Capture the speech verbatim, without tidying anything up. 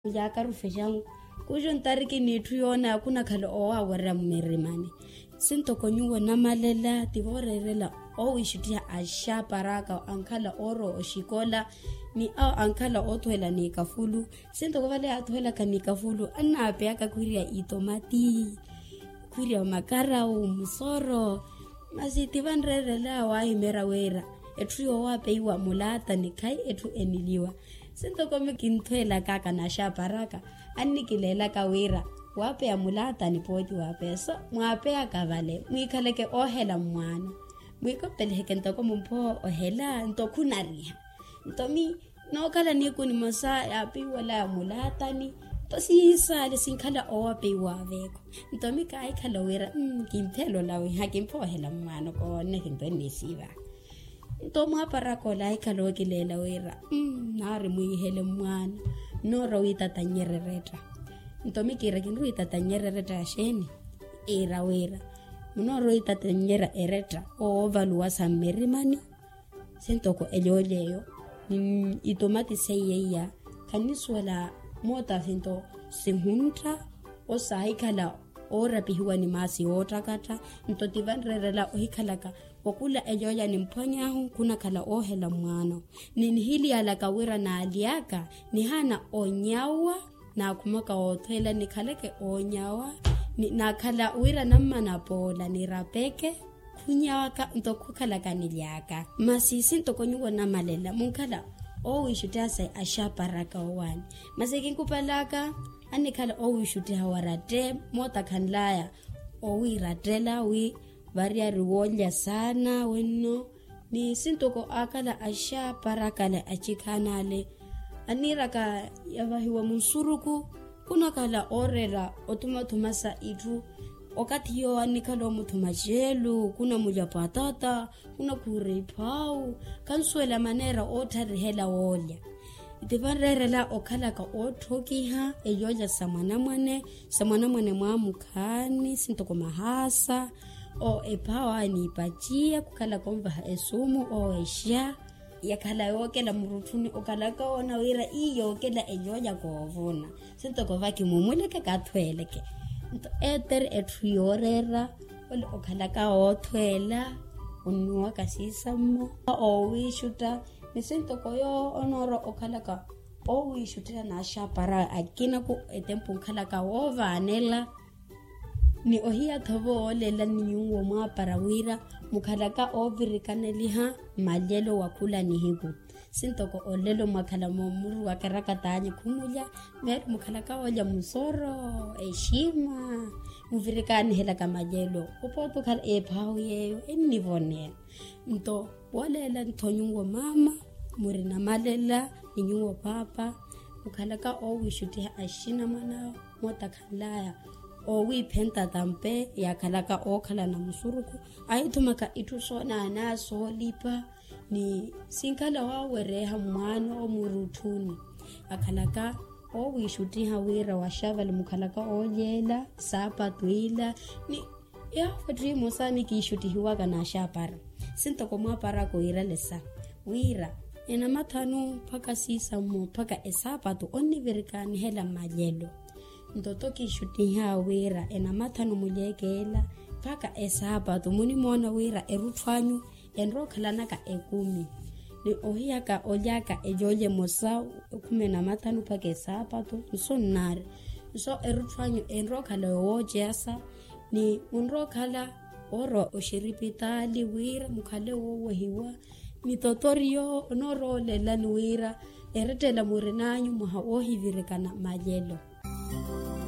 Yaakarufe xangu kuxu ntariki n'itthu yoona khunakhala owaawerya mmirimani. Sintoko nyuwo namalela ti vooreerela owiixuttiha axaparaka ankhala oorowa oxikola ni awo ankhala oothuwela n'ikafulu. Sintoko vale yaathuwelaka n'ikafulu annaapeyaka khwirya itomati, khwirya makarawu musoro. Masi ti vanreerela waahimeerya wira etthu yoowapeiwa mulaatani khayi etthu eniliwa. Sintoko mi kinthuwelaka aka n'axaparaka annikileelaka wira waapeya mulaatani pooti waapeya so mwaapeyaka vale mwiikhaleke oohela mmwaano. Mwiikopeliheke ntoko mumphowa ohela nto khunariha. Nto mi nookhala niiku nimosa yaapeiwalaya mulaatani nto siisaale sinkhala oowapeiwa aveeko. Nto mi kaahikhala wira kimpheela olawiha kimphowa ohela mmwaano koonne kinto ennisiiva. Nto mwaaparaka ola ahikhala ookileela wira naari mwiihele mmwaano nnoora wiitatannyerya eretta. Nto mi kiira kinriwiitatannyerya eretta ya xeeni? Iira wira munoora wiitatannyerya eretta oovaluwa sa mmirimani. Sintoko elyoolya eyo ni itomati seiya iya khannisuwela moota sinto sihuntta osaahikhala oorapihiwa ni maasi yoottakatta. Nto ti vanreerela ohikhalaka okula elyoolya nimphwany'ahu khunakhala oohela mmwaano ni nihiliyalaka wira naaly'aka nihaana onyawa. Naakhumaka woothweela nikhaleke oonyawa naakhala wira nammana poola nirapeke khunyawaka nto khukhalaka nily'aka. Masi sintoko nyuwo namalela munkhala oowiixuttiha sa axaparaka owaani. Masi kinkupalaka annikhala oowiixuttiha waratte moota khanlaya owiirattela wi variyari woolya saana wenno. Ni sintoko aakhala axaparakale achikhaanale anniiraka yavahiwa munsuruku khunakhala ooreera othumathuma sa itthu. Okathi yoowo annikhala omuthuma ceelu khunamulya patata khunakhuura iphawu khansuwela maneera ootharihela woolya. Ti vanreerela okhalaka ootthokiha elyoolya sa mwanamwane sa mwanamwane mwaamukhaani sintoko mahaasa. Ephawa niipaciya khukhalaka onvaha esuumu oowexa yakhala yookela murutthuni okhalaka oona wira ii yookela elyoolya koovuna. Sintoko vakimumuleke kathweeleke nto etere etthu yooreera ole okhalaka oothweela onnuwaka siisammo oowiixutta. Ni sintoko yoowo onoora okhalaka oowiixuttiha n'axapara akinaku etempu nkhalaka woovaanela. Ni ohiya-tho vo wooleela ni nyuwo mwaapara wira mukhalaka oovirikaneliha malyelo wa khula nihiku. Sintoko olelo mwakhala moomuru wa karakat'anyu khumulya meeri mukhalaka oolya musoro exima muvirikanihelaka malyelo. Opooti okhala ephahu yeeyo ennivoneya. Nto wooleela-tho nyuwo maama muri namalela ni nyuwo paapa mukhalaka oowiixuttiha axinamwana mootakhanlaya oowiiphenta tampe yaakhalaka ookhalana musuruku ahithumaka itthu soonana soolipa ni sinkhala waawereeha mwaano omurutthuni. Akhalaka oowiixuttiha wira waxavali mukhalaka oolyeela saapatu ila ni yaawo etthu emosa ni kiixuttihiwaka n'axapara. Sintoko mwaaparaka oiralesa wira enamathanu mpakha siisammo mpakha esaapatu onnivirikaanihela mmalyelo. Nto tokiixuttiha wira enamathanu mulyekeela mpakha esaapatu munimoona wira erutthu anyu enrookhalanaka ekumi. Ni ohiyaka olyaka elyoolya emosa ekhumi enamathanu mpakha esaapatu nso nnaari. Nso erutthu anyu enrookhala yowooceyasa ni munrookhala woorowa oxiripitaali wira mukhale woowehiwa. Ni totoriyo onooroolelani wira erettela murin'anyu mwaha woohivirikana malyelo.